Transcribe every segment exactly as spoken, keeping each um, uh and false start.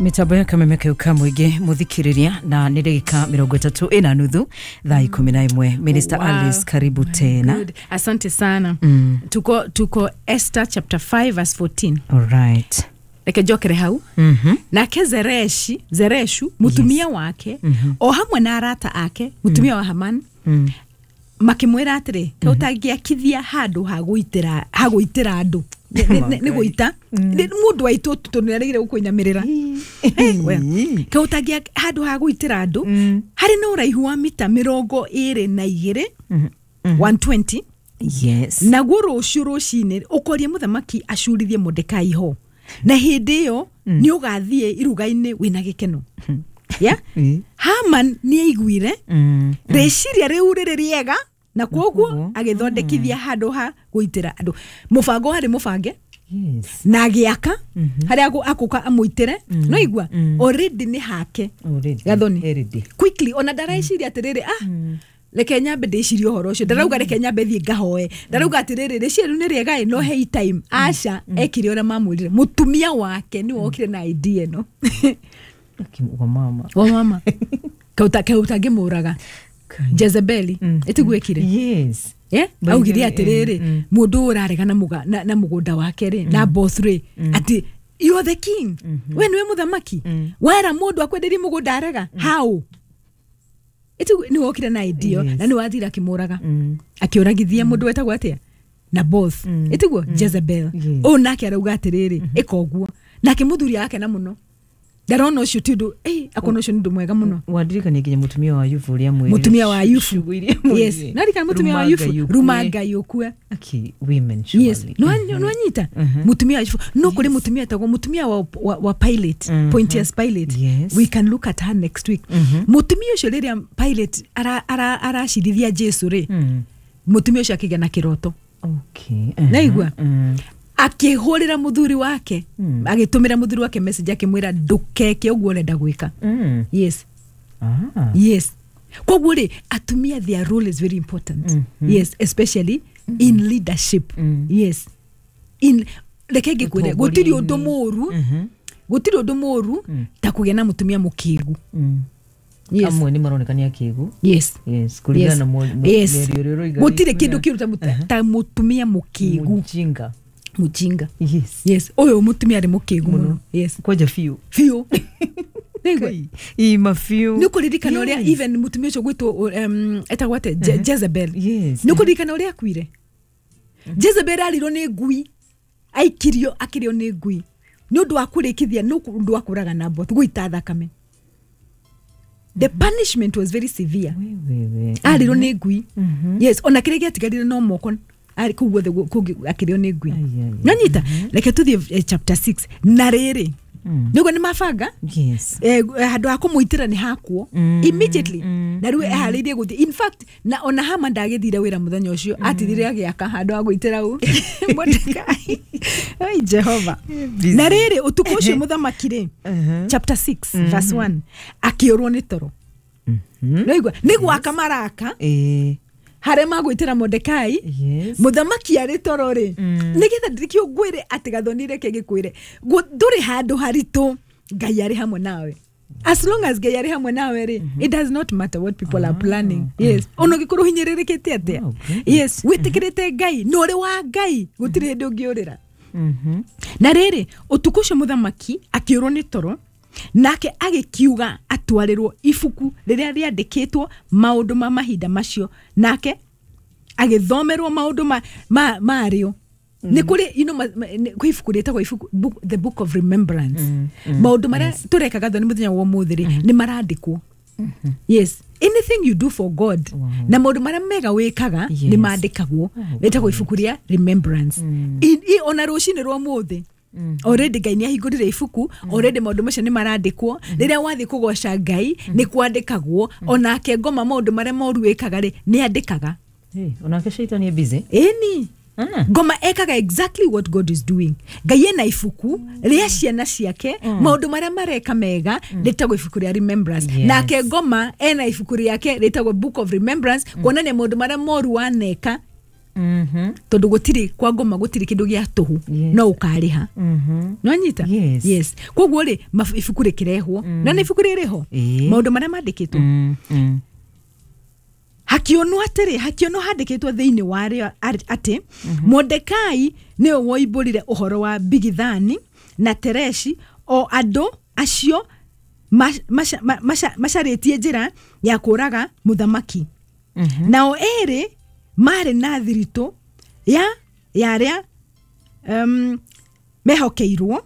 Mitambo ya kameme kau ka mũingĩ mũthikĩrĩria, na nĩ ndagĩka mĩrongo ĩtatũ ĩna nuthu thaa ikũmi na ĩmwe. Minister Wow. Alice, karibu tena. Good. Asante sana. Mm. Tuko, tuko Esther chapter five verse fourteen. All right. Reke njokere hau. Mhm. Nake Zereshi, Zereshu mutumia wake o hamwe na arata ake, mutumia wa Haman, Mm. makĩmwĩra atĩrĩ, kaĩ ũtangĩakithia handũ ha gũitĩra ha gũitĩra andũ? Nĩ- nĩ- nĩ- nĩ gũita Nĩ- mũndũ waitũ tondũ nĩaregire gũkũinamĩrĩra. Kaĩ ũtangĩa handũ ha gũitĩra andũ harĩ na ũraihu wa mita mĩrongo ĩrĩ na igĩrĩ, one twenty? Yes. Naguo rũciũ rũcinĩ ũkorie mũthamaki acurithie Mordekai ho, na hĩndĩ ĩyo nĩ ũgathiĩ iruga-inĩ wĩna gĩkeno. Yeah? Mm. Haman nĩ aiguire Mm. rĩciria rĩu rĩrĩ rĩega, na koguo Koguo. agĩthondekithia handũ ha gũitĩra andũ. Mũbango warĩ mũbange Yes. na agĩaka harĩa agũ- akũka amũitĩre. No igua already nĩ hake. Already. Gathoni. Already. Quickly, ona ndareciria atĩrĩrĩ, ah, reke nyambe ndĩcirie ũhoro ũcio. Ndarauga reke nyambe thiĩ ngahoe. Ndarauga atĩrĩrĩ, rĩciria rĩu nĩ rĩega ĩ, no hei time. Aca, ekire ũrĩa mamwĩrire. Mũtumia wake nĩwe wokire na idea ĩno. Aki- wa mama. Wa mama kauta ũtangĩmũraga. Kai. Jezebeli ĩtiguo ĩkire. Yes. Yeah? By Augire the way, atĩrĩrĩ, mm, mũndũ ũyũ ũrarega na mũga- na- na mũgũnda wake rĩ, na both rĩ, atĩ you are the king, we nĩwe mũthamaki, wera mũndũ akwenderie mũgũnda arega how? Ĩtiguo nĩ wokire na idea. Yes. Na nĩ wathire akĩmũraga, Mm. akĩũragithia mũndũ wetagwo atĩa? Naboth. Ĩtiguo Jezebel. Yes. Ũyũ nake arauga atĩrĩrĩ, ĩka ũguo. Nake mũthuri akena mũno, ndarona ũcio ti ũndũ, eh, akona ũcio nĩ ũndũ mwega mũno. Wandirikania nginya mũtumia wa Ayubu ũrĩa mwĩrire. Mũtumia wa Ayubu. Ciugo iria mwĩrire. Yes, narikana mũtumia wa Ruma Ayubu. Ngai ũkue. Ruma Ngai ũkue. Aki, women Yes. surely. Nĩwanyita mũtumia wa Ayubu? No kũrĩ mũtumia etagwo mũtumia wa, wa, wa Pilate, Mhm. Pontius Pilate. Yes. We can look at her next week. Mũtumia ũcio, rĩrĩa Pilate aracirithia Jesu rĩ, Mm. mũtumia ũcio akĩgĩa na kĩroto. Okay. Naigua? Mm. Akĩhũrĩra mũthuri wake, agĩtũmĩra mũthuri wake message akĩmwĩra, "Ndũkeke ũguo ũrenda gwĩka." Mm. Yes. Ah. Yes, koguo rĩ, atumia, their role is very important. Yes, especially in leadership. Yes, in reke ngĩkwĩre, gũtirĩ ũndũ mũru, Mhm. gũtirĩ ũndũ mũru ta kũgĩa na mũtumia mũkĩgu. Mm. Yes. Amwe nĩ maroneka nĩ akĩgu. Yes. Yes, kũringana Yes. na mũ- mũ- Yes. mĩario ĩrĩa ũroiga. Gũtirĩ rĩ, kĩndũ kĩũru ta mũtu- ta mũtumia mũkĩgu. Mũjinga. Mũjinga. Yes. Yes, ũyũ mũtumia arĩ mũkĩgu mũno, yes. Kwanja biũ. Biũ. Nĩigua? Ima biũ. Nĩ ũkũririkana ũrĩa Yes. even mũtumia ũcio gwĩtwo um, etagwo atĩa? Je- Jezebel. Yes. Nĩ ũkũririkana ũrĩa akuire? Jezebel arirwo nĩ ngui, aikirio akĩrĩo nĩ ngui nĩ ũndũ wa kũrĩkithia, nĩ ũndũ wa kũraga Naboth, gũita thakame. The punishment was very severe. We, we, we. Arirwo nĩ ngui, yes. Ona kĩrĩa gĩatigarire no moko arĩ kũu guothe gu- kũngĩ akĩrĩo nĩ ngui. Ai, ai, ai. Nanyita, reke tũthiĩ eh, chapter six. Na rĩrĩ, Mm. nĩguo nĩ mabanga Yes. eh, handũ ha kũmũitĩra nĩ hakwo Mm, immediately, mm, na rĩu eharĩirie gũthiĩ. In fact, na ona Hama ndagĩthire wĩra mũthenya ũcio, atigire agĩaka handũ ha gũitĩra ũ Mordekai. Ai Jehova. Busy. Na rĩrĩ, ũtukũ ũcio mũthamaki rĩ, Uh-huh. chapter six verse one, akĩũrwo nĩ toro. Mhm. Naigua nĩ gwaka maraka Eh, harĩa magwĩtĩra Mordekai. Yes. Mũthamaki arĩ toro rĩ, nĩgetha ndirikio ngwĩre atĩ Gathoni, reke gĩkwĩre, Gũ- ndũrĩ handũ haritũ Ngai arĩ hamwe nawe. As long as Ngai arĩ hamwe nawe rĩ, it does not matter what people are planning. Yes, ona ũngĩkorwo hinyĩrĩrĩkĩte atĩa, Oh, great. yes, wĩtĩkĩrĩte Ngai na ũrĩ wa Ngai, gũtirĩ hĩndĩ ũngĩũrĩra. Mhm. Na rĩrĩ, ũtukũ ũcio mũthamaki akĩũrwo nĩ toro, nake agĩkiuga atwarĩrwo ibuku rĩrĩa rĩandĩkĩtwo maũndũ ma mahinda macio, nake agĩthomerwo maũndũ ma, ma, marĩo. Nĩ kũrĩ, you know, ma, ma, nĩ- kwĩ ibuku rĩtagwo ibuku book, the book of remembrance. Mm, mm, Maũndũ marĩa tũrekaga thoni mũthenya wa ũmũthĩ rĩ, nĩ marandĩkwo. Yes, anything you do for God Wow. na maũndũ marĩa mega wĩkaga Yes. nĩ mandĩkagwo. Oh, Rĩtagwo ibuku rĩa remembrance. I- i- ona rũcinĩ rwa ũmũthĩ already Ngai nĩ ahingũrire ibuku already, maũndũ macio nĩ marandĩkwo. Rĩrĩa wathiĩ kũgoca Ngai nĩ kwandĩkagwo. Onake ngoma maũndũ marĩa moru wĩkaga rĩ, nĩ andĩkaga. Hey, onake shaitani e busy. Ĩni. Ah. Ngoma ekaga exactly what God is doing. Ngai ena ibuku rĩa ciana ciake, maũndũ marĩa mareka mega, rĩtagwo ibuku rĩa remembrance. Yes. Nake ngoma ena ibuku rĩake rĩtagwo book of remembrance, kuonania maũndũ marĩa moru waneka. Mhm. Tondu gutiri kwa ngoma gutiri kindu gia tuhu. Yes. No ukariha. Mhm. Nwanyita? Yes. Yes. Koguo ri ibuku rikirehwo na nĩ ibuku rĩrĩ Ĩĩ. maũndũ marĩa mandĩkĩtwo. Mm. Mm. Hakionwo atĩrĩ, hakionwo handĩkĩtwo thĩinĩ warĩo atĩ Mordekai nĩwe woimbũrire ũhoro wa Bigithani na Tereshi, o andũ acio macarĩtie njĩra ya kũraga mũthamaki. Mhm. Nao erĩ marĩ na thiritũ ya ya arĩa um, mehokeirwo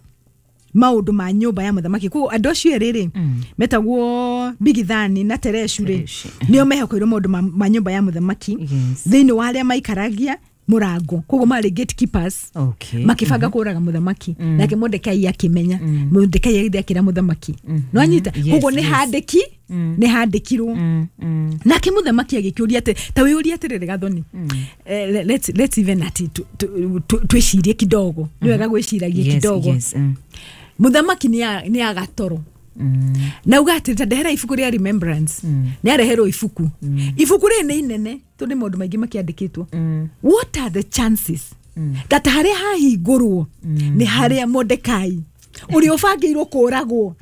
maũndũ ma nyũmba ya mũthamaki. Koguo andũ acio erĩ rĩ, Mm. metagwo Bigithani na Tereshu rĩ, Tereshi. nĩo mehokeirwo maũndũ ma, ma nyũmba ya mũthamaki. Yes. Thĩinĩ wa arĩa maikaragia mũrango, koguo marĩ gatekeepers. Okay. Makĩbanga kũraga mũthamaki, nake Mordekai akĩmenya. Mordekai agĩthiĩ akĩra mũthamaki. Nĩwanyita? Yes, Koguo nĩ yes. handĩki nĩ handĩkirwo. Mm. Mm. Nake mũthamaki agĩkĩũria atĩ ta wĩũrie atĩrĩrĩ Gathoni, eh, le- let's, let's even ati tu- tu- tu- twĩcirie kidogo, nĩ wega gwĩciragia Yes, kidogo. yes. Mm. Mũthamaki nĩ agatoro Mm. na uga atĩ ta ndehera ibuku rĩa remembrance. Nĩ areherwo ibuku. Ibuku rĩrĩ nĩ inene tondũ nĩ maũndũ maingĩ makĩandĩkĩtwo. What are the chances that harĩa hahingũrwo nĩ harĩa Mordekai ũrĩa ũbangĩirwo kũragwo,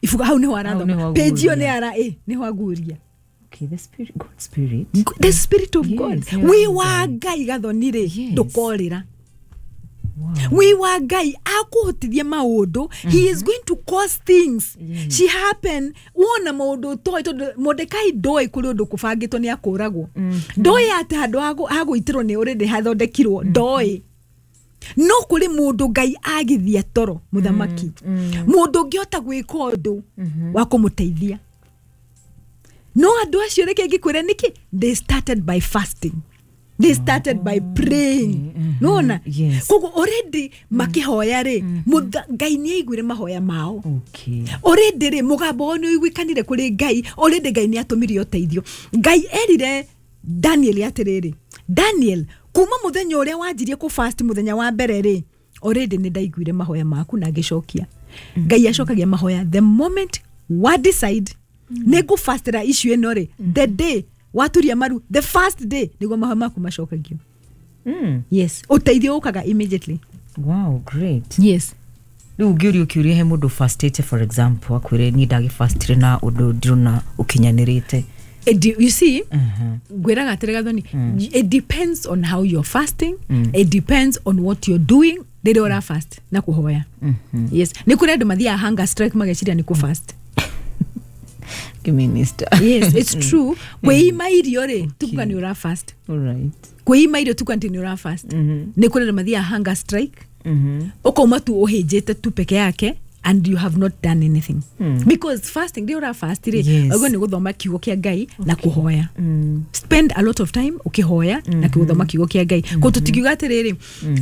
ibuku hau nĩho nĩho arathoma, aguũria. page ĩyo nĩ ara ĩ nĩho aguũria. Okay, the spirit, God spirit. The spirit of Yes, God. yeah. Wĩ wa Ngai Gathoni rĩ, Yes. ndũkorĩra. Wow. Wĩ wa Ngai akũhotithia maũndũ. He is going to cause things she happen. Wona maũndũ ũtoĩ, tondũ Mordekai ndoĩ kũrĩ ũndũ kũbangĩtwo nĩ akũragwo. Ndoĩ atĩ handũ ha gũitĩrwo nĩ already hathondekirwo, ndoĩ. No kũrĩ mũndũ Ngai agithia toro mũthamaki, mũndũ ũngĩhota gwĩka ũndũ wa kũmũteithia. No andũ acio reke ngĩkwĩre nĩkĩ they started by fasting, they started by praying. Nona? Yes. Koguo already makĩhoya rĩ, mũtha- Ngai nĩ aiguire mahoya mao. Okay. Already rĩ, mũgambo wao nĩ ũiguĩkanire kũrĩ Ngai. Already Ngai nĩ atũmire ũteithio. Ngai erire Daniel atĩrĩrĩ, Daniel, kuma mũthenya ũrĩa wanjirie kũ fast mũthenya wa mbere rĩ, already nĩ ndaiguire mahoya maku na ngĩcokia. Ngai acokagia mahoya the moment wa decide nĩ ngũfastĩra issue ĩno rĩ, the day waturia maru, the first day nĩguo mahoya maku macokagio. Mm. Yes, ũteithio ũkaga immediately. Wow, great. Yes. Rĩu ũngĩũria ũkĩũria he mũndũ fastĩte, for example, akwĩre niĩ ndagĩfastire na ũndũ ndirona ũkinyanĩrĩte. It de- you see, Mhm. ngwĩraga atĩrĩ Gathoni, it depends on how you're fasting. It depends on what you're doing rĩrĩa ũra fast na kũhoya. Yes, nĩ kũrĩ andũ mathiaga hunger strike mageciria nĩ kũ fast. Minister. Yes, it's true. Kwĩima irio rĩ, tukuga nĩ ũra fast. All right. Kwĩima irio tukuga atĩ nĩ ũra fast. Nĩ kũrĩ andũ mathiaga hunger strike, Mhm. ũkauma tu ũhĩnjĩte tu peke yake and you have not done anything, because fasting, rĩrĩa ũra fast rĩ, Yes. ũguo nĩ gũthoma kiugo kĩa Ngai na kũhoya. Spend a lot of time ũkĩhoya na gũthoma kiugo kĩa Ngai. Koguo tũtikiuga atĩrĩrĩ,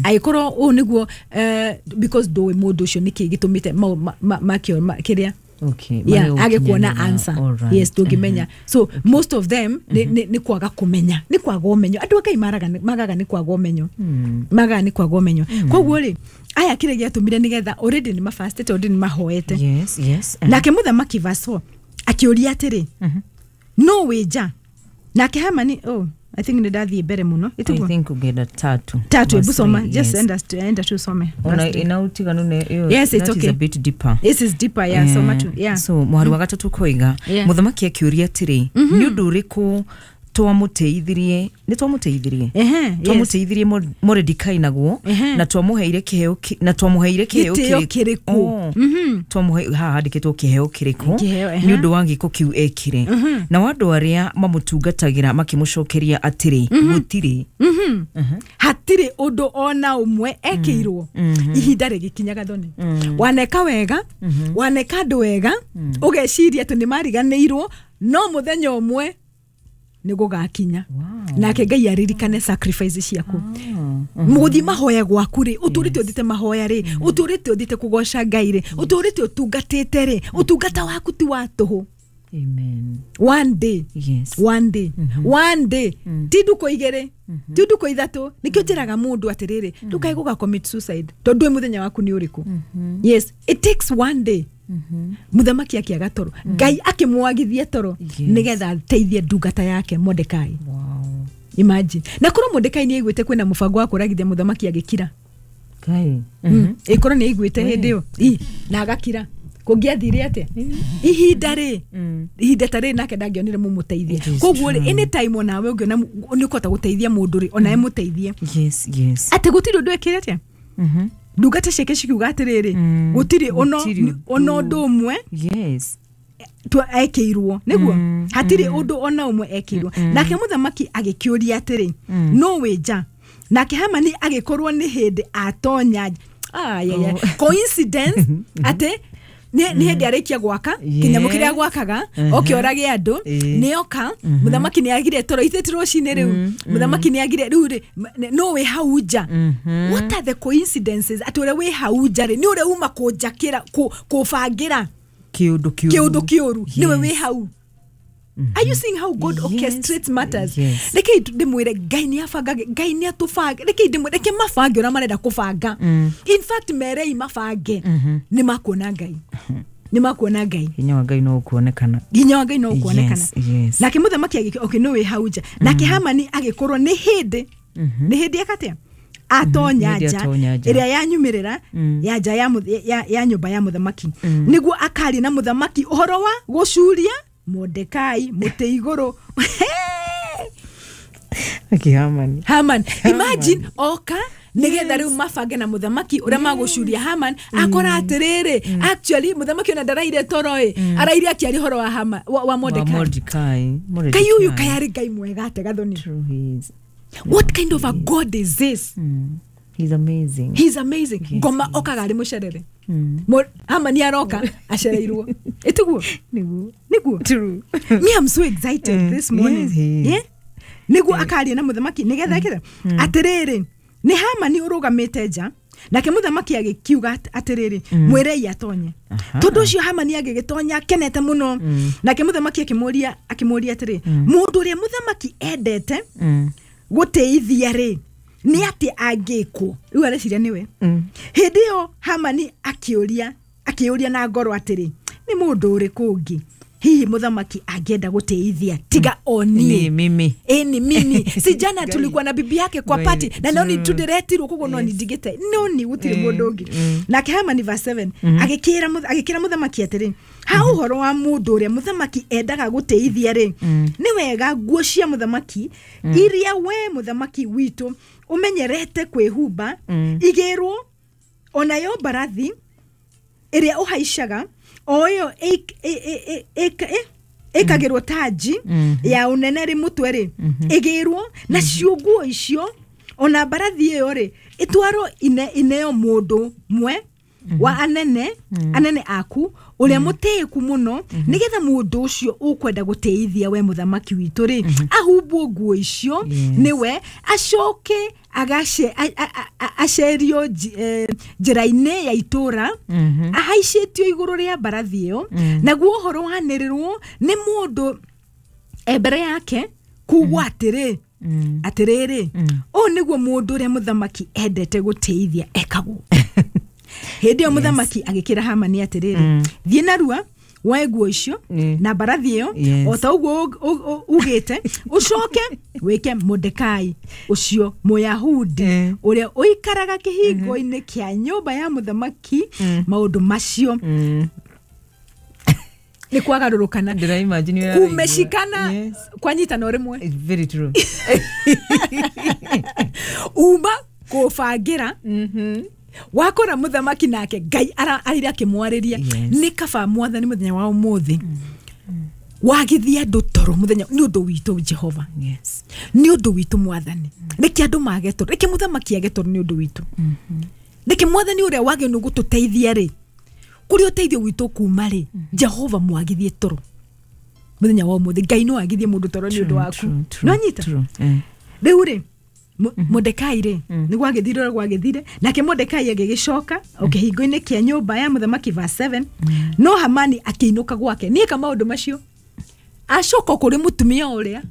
angĩkorwo ũũ nĩguo, eh, because ndũĩ mũndũ ũcio nĩkĩ gĩtũmĩte mau- ma- ma- makĩo ma- kĩrĩa Okay. yeah, Mare age kuona gũkinyanĩra. answer. All right. Yes, ndũngĩmenya. So most of them nĩ nĩ- nĩ kwaga kũmenya, nĩ kwaga ũmenyo. Andũ a Ngai maraga magaga nĩ kwaga ũmenyo, magaga nĩ kwaga ũmenyo. Koguo rĩ, aya kĩrĩa gĩatũmire nĩgetha already nĩ mafastĩte, already nĩ mahoete. Yes, yes. Nake mũthamaki verse four akĩũria atĩrĩ, no wĩ nja? Nake Hamani, oh, I think nĩ ndathiĩ mbere mũno. I Ĩtiguo? think ũngĩenda tatu. Tatu, Verse ebu soma. three, Just yes. enda enda tu usome. Ona Verse three. ina utiganu ne iyo. Yes, it's that is okay. a bit deeper. This is deeper, yeah. Soma tu, yeah. So mwari wa gatatu koiga, Yeah. mũthamaki akĩũria atĩrĩ, nĩ ũndũ ũrĩkũ twamũteithirie, nĩ twamũteithirie, Ehe, yes. twamũteithirie Mo- Mordecai naguo, Ehe. na twamũheire kĩheo ki- na twamũheire kĩheo Gĩtĩo kĩrĩkũ? kĩrĩkũ? Oh. Twamũhe haha handĩkĩtwo kĩheo kĩrĩkũ Kĩheo, ehe. nĩ ũndũ wa gĩko kĩu ekire. Nao andũ arĩa mamũtungatagĩra makĩmũcokeria atĩrĩ, gũtirĩ. Hatirĩ ũndũ ona ũmwe ekĩirwo. Ihinda rĩgĩkinya Gathoni, waneka wega, waneka andũ wega, ũgeciria atĩ nĩ mariganĩirwo, no mũthenya ũmwe nĩ gũgakinya. Wow. Nake Ngai aririkane sacrifice ciaku. Mũgũthiĩ mahoya gwaku rĩ, ũtũrĩte ũthiĩte mahoya rĩ, ũtũrĩte ũthiĩte kũgoca Ngai rĩ, ũtũrĩte ũtungatĩte rĩ, ũtungata waku ti wa tũhũ. Amen. One day, Yes. one day, one day, ti ndukũ igĩrĩ, ti ndukũ ithatũ. Nĩkĩo njĩraga mũndũ atĩrĩrĩ, ndũkae gũga commit suicide tondũ ndũĩ mũthenya waku nĩ ũrĩkũ. Yes, it takes one day. Mũthamaki akĩaga toro, Ngai akĩmwagithia toro Yes. nĩgetha ateithie ndungata yake Mordekai. Wow. Imagine na korwo Mordekai nĩ aiguĩte kwĩna mũbango wa kũragithia mũthamaki agĩkira. Ngai. Mm. Ĩkorwo nĩ aiguĩte hĩndĩ ĩyo Ĩ, na agakira kũngĩathire atĩa ihinda rĩ ihinda ta rĩrĩ nake ndangĩonire mũmũteithia. It is Koguo rĩ true. anytime onawe ũngĩona nĩ ũkũhota gũteithia mũndũ rĩ, onawe mũteithie. Yes, yes. Atĩ gũtirĩ ũndũ ekĩre atĩa, Mhm. ndungata ciake cikiuga atĩrĩrĩ, Mm. gũtirĩ ono Gũtirĩ ona ũndũ ũmwe Yes. twa- ekĩirwo nĩguo Mm, hatirĩ ũndũ ona ũmwe ekĩirwo. Nake mũthamaki agĩkĩũria atĩrĩ, no wĩ nja? Nake Hamani agĩkorwo nĩ hĩndĩ atonya. Ayaya, Oh. coincidence atĩ nĩ nĩ hĩndĩ arĩkia gwaka kĩnyamũ kĩrĩa Yes. gwakaga, Mhm. oke orage andũ. Ĩĩ. Nĩoka mũthamaki nĩ agire toro ithe ti rũcinĩ rĩu mũthamaki nĩ agire rĩu rĩ m- no wĩ hau nja. What are the coincidences atĩ ũrĩa wĩ hau nja rĩ nĩ ũrĩa uma kũnjakĩra kũ- kũbangĩra Kĩũndũ kĩũru. kĩũndũ kĩũru nĩwe wĩ Yes. hau. Are you seeing how God Yes. orchestrates matters? Yes. Rekei ndĩmwĩre Ngai nĩ abangage, Ngai nĩ atũbange. Rekei ndĩmwĩre, reke mabange ũrĩa marenda kũbanga. In fact merei mabange, nĩ makuona Ngai, nĩ makuona Ngai. Hinya wa Ngai no ũkuonekana. Hinya wa Ngai no ũkuonekana. Yes, yes. Nake mũthamaki agĩk okay, no wĩ hau nja. Nake Hamani agĩkorwo nĩ hĩndĩ nĩ hĩndĩ ekatia atonya Hĩndĩ nja atonya nja. ĩrĩa yanyumĩrĩra ya nja ya mũth- ya- ya nyũmba ya mũthamaki nĩguo akarie na mũthamaki ũhoro wa gũcuria Mordekai mũtĩ igũrũ. Aki Hamani. Haman, imagine oka nigetha riu mabange na muthamaki uria magucuria Haman, akora atiriri actually muthamaki ona ndaraire toro ĩ, araire akiaria ũhoro wa Haman wa, wa Wa Mordekai. Mordecai. Ngai ũyũ Mordecai. kaĩ arĩ Ngai mwega ate Gathoni. True, he is. What kind of a God is this? Mm. He's amazing. He's amazing. Yes, Ngoma he is. okaga arĩ mũcerere. Mm. Mo- Haman aroka acereirwo ĩtiguo Nĩguo. nĩguo. True. Me, I'm so excited Mm. this morning. Yes, he is. Yeah? Nĩguo akaria na mũthamaki nĩgetha ekĩre atĩrĩrĩ nĩ Hamani ũrũgamĩte nja. Nake mũthamaki agĩkiuga at- atĩrĩrĩ, mwĩrei atonye. Aha. Tondũ ũcio Hamani agĩgĩtonya akenete mũno. Nake mũthamaki akĩmũria akĩmũria atĩrĩ, mũndũ ũrĩa mũthamaki endete Mm. gũtĩithia rĩ nĩ atĩ angĩkwo? Rĩu areciria nĩwe. Mm. Hĩndĩ ĩyo Hamani akĩũria akĩũria na ngoro atĩrĩ, nĩ mũndũ ũrĩkũ ũngĩ hihi mũthamaki angĩenda gũtĩithia tiga o Ni niĩ? mimi. Ĩni mimi si jana tulikuwa na bibi yake kwa Ngai, party na no ni true. tundiretirwo koguo no Yes. nindigite no ni gũtirĩ Mm, mũndũ ũngĩ. mm. Nake Hamani verse seven agĩkĩra mũth- agĩkĩra mũthamaki atĩrĩ, ha ũhoro wa mũndũ ũrĩa mũthamaki endaga gũtĩithia rĩ, nĩ wega nguo cia mũthamaki iria we mũthamaki witũ ũmenyerete kwĩhumba igĩrwo, onayo mbarathi ĩrĩa ũhaicaga o ĩyo ĩk- ĩ- ĩ- ĩ- ĩk- ĩ- ĩkagĩrwo tanji ya ũnene rĩ mũtwe rĩ ĩgĩrwo, nacio nguo icio ona mbarathi ĩyo rĩ ĩtwarwo ine, ineo mũndũ mwe wa anene anene aku ũrĩa mũtĩĩku mũno, nĩgetha mũndũ ũcio ũkwenda gũtĩithia we mũthamaki witũ rĩ ahumbwo nguo icio Yes. nĩwe acoke agace a- a- a- acerio nji- eh, njĩra-inĩ ya itũra ahaicĩtio igũrũ rĩa mbarathi ĩyo, naguo ũhoro wanĩrĩrwo nĩ mũndũ e mbere yake kugwo atĩrĩ atĩrĩrĩ ũũ nĩguo mũndũ ũrĩa mũthamaki endete gũtĩithia ekagwo. Hĩndĩ ĩyo mũthamaki agĩkĩra Hamani atĩrĩrĩ, thiĩ narua woe nguo icio Mm. na mbarathi ĩyo Yes. o ta ũguo ũ- ũ- ũ- ugĩte, ũcoke wĩke Mordekai ũcio Mũyahudi Mm. ũrĩa ũikaraga kĩhingo-inĩ kĩa nyũmba ya mũthamaki maũndũ macio. Mm. Nĩ kwagarũrũkana Ndĩra imagine ũrĩa araigua. kumeshikana Yes. kwanyitana o rĩmwe. It's very true. Uma kũbangĩra wakora mũthamaki nake Ngai ara- arire akĩmwarĩria. Yes. Nĩ kaba mwathani mũthenya wa ũmũthĩ wagithia andũ toro mũthenya nĩ ũndũ witũ Jehova. Yes. Nĩ ũndũ witũ mwathani, reke andũ mage toro, reke mũthamaki age toro nĩ ũndũ witũ, reke mwathani ũrĩa wagĩrĩirwo nĩ gũtũteithia rĩ kũrĩa ũteithio witũ kuma rĩ, Jehova mwagithie toro mũthenya wa ũmũthĩ. Ngai no agithie mũndũ toro nĩ ũndũ waku. True, true, Nĩwanyita? true. Eh. Rĩu rĩ Mo- Mordekai rĩ nĩ gwagĩthire ũrĩa gwagĩthire, nake Mordekai agĩgĩcoka o kĩhingo-inĩ kĩa nyũmba ya mũthamaki verse seven, no Hamani akĩinũka gwake nĩeka maũndũ macio acoka kũrĩ mũtumia ũrĩa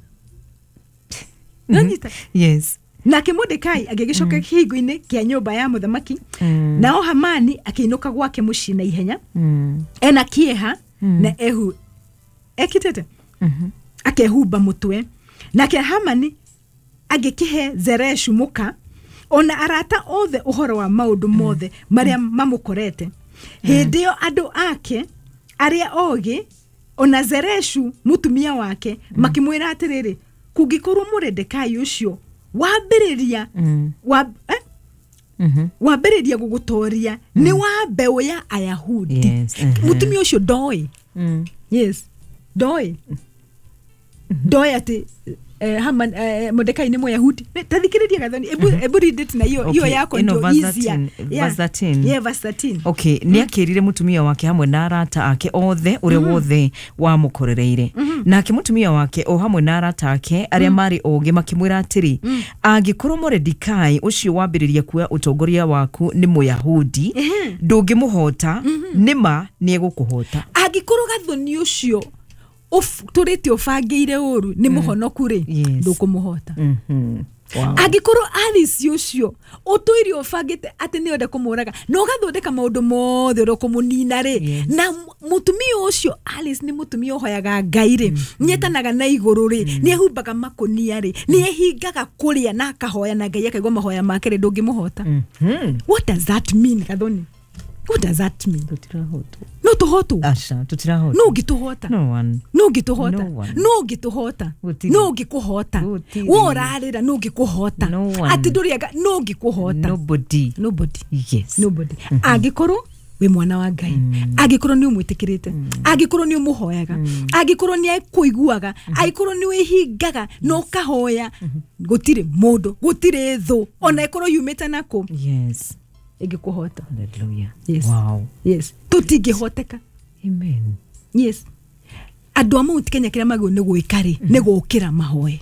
nanyita. Yes. Nake Mordekai agĩgĩcoka kĩhingo-inĩ kĩa nyũmba ya mũthamaki, nao Hamani akĩinũka gwake mũciĩ na ihenya Mm. ena kĩeha na ehu ekĩtĩte akehumba mũtwe. Nake Hamani Agĩkĩhe Zereshu mũka ona arata othe ũhoro wa maũndũ mothe marĩa mamũkorete. Hĩndĩ ĩyo andũ ake arĩa ogĩ ona Zereshu mũtumia wake makĩmwĩra atĩrĩrĩ, kũngĩkorwo Mũredekai ũcio wambĩrĩria wa, eh? Mhm. Wambĩrĩria gũgũtoria nĩ wa mbeũ ya Ayahudi. Yes, mhm. Mũtumia ũcio ndoĩ. Mm. Yes, ndoĩ ndoĩ atĩ eh, Haman, eh, Mordekai nĩ Mũyahudi. Tathikĩrĩria Gathoni, ebu, ebu read it na hiyo hiyo Okay, yako ĩno ndio verse easier. thirteen, Yeah. verse thirteen. Yeah, verse thirteen. Okay, nä akä mũtumia wake hamwe na arata ake othe ũrĩa wothe wamũkorereire. Nake mũtumia wake o hamwe na arata ake arĩa marĩ ũgĩ makĩmwĩra atĩrĩ, angĩkorwo Moredikai ũcio wambĩrĩria kuoya ũtongoria waku nĩ Mũyahudi, ndũngĩmũhota, nĩ ma nĩ egũkũhota. Angĩkorwo Gathoni ũcio ũf- tũrĩte ũbangĩire ũru nĩ mũhonoku rĩ, Yes. ndũkũmũhota. Mhm. Wow. Angĩkorwo Alice ũcio ũtũire ũbangĩte atĩ nĩ enda kũmũraga na ũgathondeka maũndũ mothe ũrĩa ũkũmũnina rĩ, Yes. na m- mũtumia ũcio Alice nĩ mũtumia ũhoyaga Ngai rĩ, nĩetanaga na igũrũ rĩ, nĩ ehumbaga makũnia rĩ, nĩ ehingaga kũrĩa na akahoya na Ngai akaigua mahoya make rĩ, ndũngĩmũhota. Mhm. What does that mean, Gathoni? What does that mean? Tũtirahotwo. No tũhotwo. Aca, tũtirahotwo. No ũngĩtũhota. No one. No ũngĩtũhota. No one. No ũngĩtũhota. Gũtirĩ. No ũngĩkũhota. Gũtirĩ. We ũrarĩra no ũngĩkũhota. No one. Atĩ ndũrĩanga no ũngĩkũhota. Nobody. Nobody. Yes. Nobody. Angĩkorwo wĩ mwana wa Ngai, angĩkorwo nĩ ũmwĩtĩkĩrĩte, angĩkorwo nĩ ũmũhoyaga, angĩkorwo nĩ akũiguaga, angĩkorwo nĩ wĩhingaga na ũkahoya, gũtirĩ mũndũ, gũtirĩ thũ ona ĩkorwo yumĩte nakũ Yes. ĩngĩkũhota. Hallelujah. Yes. Wow. Yes, tũtingĩhoteka. Amen. Yes, andũ a Mount Kenya kĩrĩa magĩrĩirwo nĩ gwĩka rĩ, nĩ gũkĩra mahoe.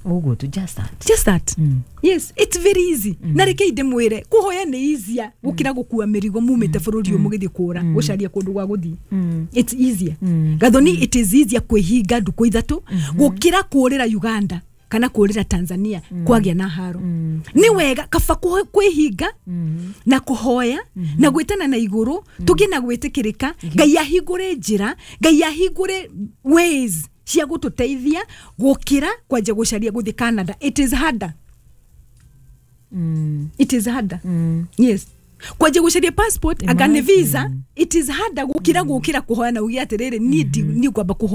Ũguo tu, just that. Just that. Mm. Yes, it's very easy. Na reke ndĩmwĩre, kũhoya nĩ easier gũkĩra gũkua mĩrigo mumĩte bũrũri ũyũ mũgĩthiĩ kũra gũcaria kũndũ gwa gũthiĩ. It's easier, Gathoni. It is easier kwĩhinga ndukũ ithatũ gũkĩra kũrĩra Uganda kana kũrĩra Tanzania kwagĩa na haro. Nĩ wega kaba kũho- kwĩhinga na kũhoya na gwĩtana na igũrũ, tũgĩe na gwĩtĩkĩrĩka, Ngai ahingũre njĩra, Ngai ahingũre ways cia gũtũteithia gũkĩra kwanja gũcaria gũthiĩ Canada. It is harder. Mm. It is harder. Yes, kwanja gũcaria passport anga nĩ visa, it is harder gũkĩra gũkĩra kũhoya na uge atĩrĩrĩ, niĩ ndi- niĩ ngwamba kũhoya.